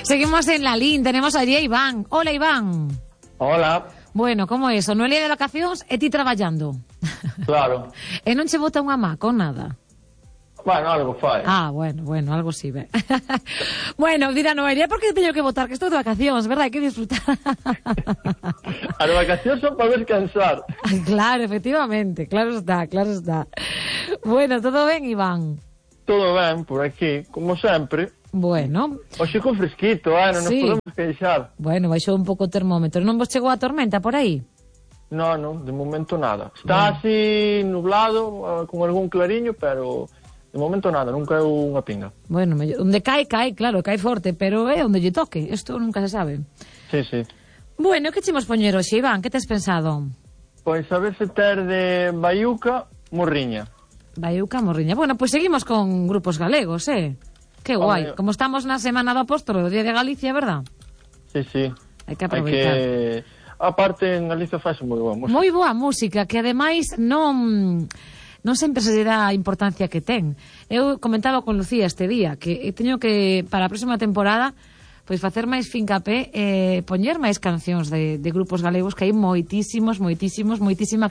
Seguimos en la línea, tenemos allí a Iván. Hola, Iván. Hola. Bueno, como é eso? Noelia de vacacións e ti traballando. Claro. E non che bota unha má con nada? Bueno, algo fai. Ah, bueno, algo sí, ve. Bueno, dirá Noelia, por que teño que votar? Que estou de vacacións, verdad? Hai que disfrutar. As vacacións son para descansar. Claro, efectivamente, claro está. Bueno, todo ben, Iván? Todo ben, por aquí, como sempre. Bueno. Oxe con fresquito, non nos podemos queixar. Bueno, baixou un pouco o termómetro. Non vos chegou a tormenta por aí? Non, de momento nada. Está así nublado, con algún clariño, pero de momento nada, nunca é unha pinga. Bueno, onde cae, claro, cae forte, pero é onde lle toque, isto nunca se sabe. Sí. Bueno, que chimos poñer hoxe, Iván? Que tes pensado? Pois a ver se ter de Baiuca, Morriña. Baiuca, Morriña. Bueno, pois seguimos con grupos galegos, Que guai. Como estamos na Semana do Apóstolo, o Día de Galicia, verdad? Sí. Hai que aproveitar. Aparte, en Galicia faz moi boa música. Moi boa música, que ademais non sempre se dá a importancia que ten. Eu comentaba con Lucía este día que teño que, para a próxima temporada, pois facer máis fincapé e poñer máis cancións de grupos galegos, que hai moitísima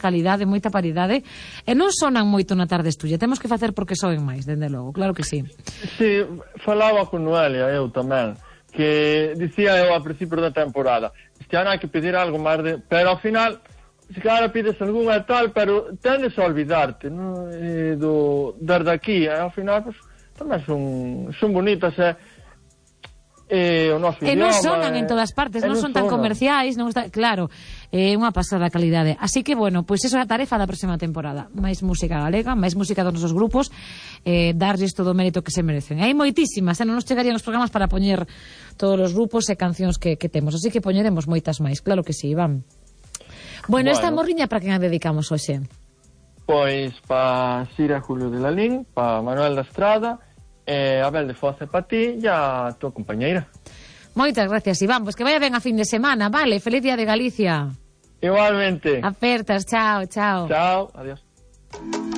calidade, moita paridade, e non sonan moito na tarde estudia. Temos que facer porque soen máis, dende logo, claro que sí. Sí, falaba con Noelia, eu tamén, que dicía eu ao principio da temporada, este ano hai que pedir algo máis de... Pero ao final, se cara pides algunha tal, pero tendes a olvidarte, non? Desde aquí, ao final, pues, tamén son bonitas, o noso idioma, non sonan en todas partes, non son tan comerciais, non está, claro, é unha pasada calidade. Así que, bueno, pois iso é a tarefa da próxima temporada. Máis música galega, máis música dos nosos grupos, darlles todo o mérito que se merecen. Hai moitísimas, non nos chegarían os programas para poñer todos os grupos e cancións que temos, así que poñeremos moitas máis, claro que sí, Iván. Bueno, esta morriña para quen a dedicamos hoxe? Pois para Sira Julio de Lalín, para Manuel da Estrada, Abel de Foz para ti e a tua compañeira. Moitas gracias, Iván. Pois que vaya ben a fin de semana, vale? Feliz Día de Galicia. Igualmente. Apertas, chao. Chao, adiós.